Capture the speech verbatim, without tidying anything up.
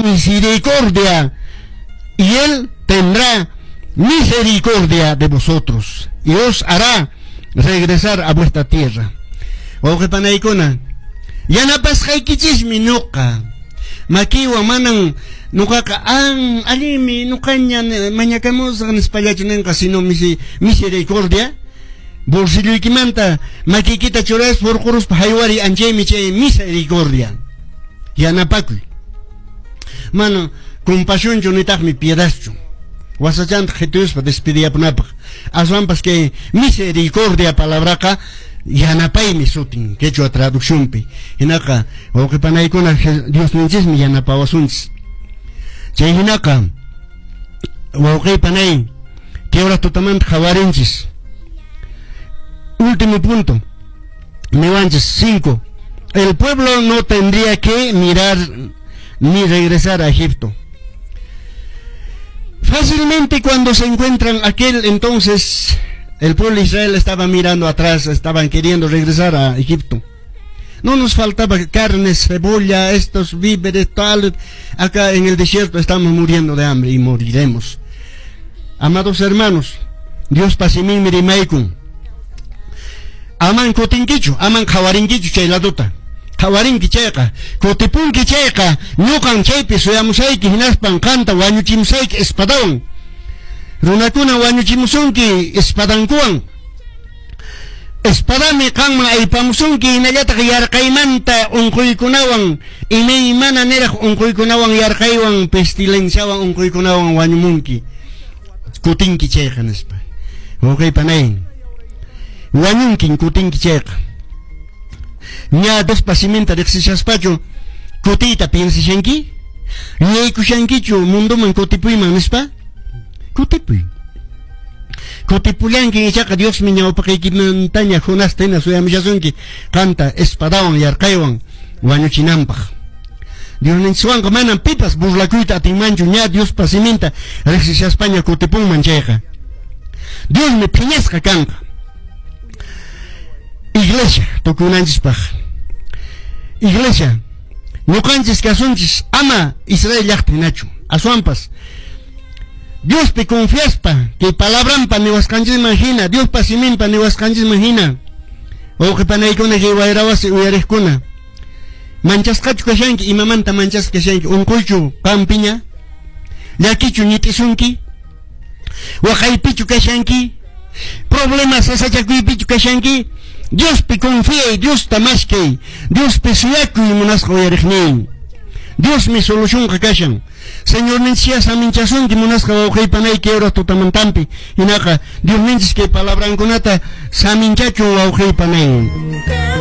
Misericordia y él tendrá misericordia de vosotros y os hará regresar a vuestra tierra. Wawqi panaykuna, yanapasqaykichismi nuqa. Makiwan manan nuqaqa an allinmi nuqaña mañakamusaq nispallachu ninqa, sino misericordia. Bolsilloykimanta makiykita churaspa hurquruspa haywari anchaymi chay misericordia. Yanapakuy. Mana compasionchu nitaqmi piedadchu. Wasachanta qhituyuspa despediyapunapaq. Aswanpas kay misericordia palabraqa yanapaymi sutin quechua traduccionpi. Hinaqa wawqi panaykuna Diosninchismi yanapawasunchis. Chay hinaqa wawqi panay kay hora tutamanta qhawarinchis. Último punto. Niwanchis cinco. El pueblo no tendría que mirar ni regresar a Egipto. Fácilmente cuando se encuentran aquel entonces, el pueblo de Israel estaba mirando atrás, estaban queriendo regresar a Egipto. No nos faltaba carne, cebolla, estos víveres, tal. Acá en el desierto estamos muriendo de hambre y moriremos. Amados hermanos, Diospa siminmi rimaykun. Aman kutinkichu, aman qhawarinkichu chay laduta. Qhawarinki chayqa, kutipunki chayqa, ñuqan chaypi suyamusayki hinaspan qanta wañuchimusayki espadawan. Runakuna wañuchimusunki espadankuwan. Espadami qanman aypamusunki hinallataq yarqaymanta unquykunawan, imaymana niraq unquykunawan yarqaywan, pestilenciawan unquykunawan wañumunki. Kutinki chayqa nispa. Wawqi panay. Wañunkin kutinki chayqa. Ña Diospa siminta riqsishaspachu kutiyta piensashanki? Yuyaykushankichu mundoman kutipuyman nispa? Kutipuy. Kutipullanki ichaqa Diosmi ñawpaqaykimantaña Jonasta hina suyamushasunki qanta espadawan yarqaywan wañuchinanpaq. Diosninchikwanqa manam pipas burlakuyta atinmanchu ña Diospa siminta riqsishaspaña kutipunman chayqa. Diosmi phiñasqa kanqa. Iglesia, tukunanchispaq. Iglesia, ñuqanchis kasunchis ama Israel llaqta hinachu. Aswanpas Diospi confiaspa, kay palabranpa niwasqanchisman hina, Diospa siminpa niwasqanchisman hina. Wawqi panaykuna kay wayrawasi uyariqkuna. Manchasqachu kashanki, imamanta manchasqa kashanki, unquychu qampiña, llakichu ñit'isunki, waqaypichu kashanki, problemas sasachakuypichu kashanki. Diospi confiay, Diosta maskay, Diospi suyakuy munasqa uyariqnin. Diosmi solucionqa kashan. Señorninchis saminchasunki munasqa wawqi panayki hora tutamantampi. Hinaqa Diosninchis kay palabrankunata saminchachun wawqi panay.